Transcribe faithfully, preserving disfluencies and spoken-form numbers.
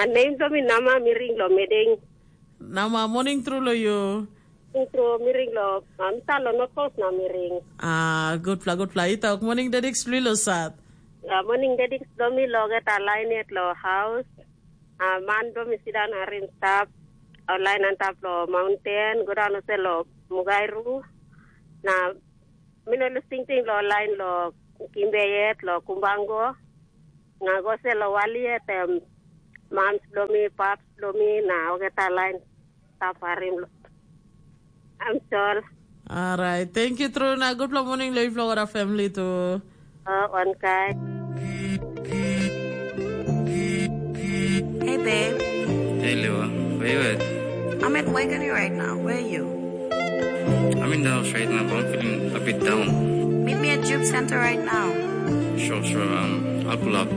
Nem bilong mi Nama, mi ring long Meding. Nama, morning tru lo yu. Ring tru, mi ring long, uh, mi stap long North Coast na mi ring. Ah, gutpela, gutpela. I tok, morning Dedik Splilo Sat. Uh, morning Dedik Domi lo get a line yet lo house. Uh, man Domi sidan arin stap. Uh, line antap lo mountain, go down ose lo Mugairu. Na mi no lus tingting lo line lo Kimbe yet, lo Kumbango. Nga go se lo wali yet, em, mams lo mi, paps lo mi, na ogeta line. Taparim lo. I'm sorry. Alright. Thank you, True. Na good morning, Leif Flora family too. Oh, one guy. Hey, babe. Hey, Lewa. Where you at? I'm at Wegani right now. Where are you? I'm in the house right now, but I'm feeling a bit down. Meet me at Juke Center right now. Sure, sure. Um, I'll pull up.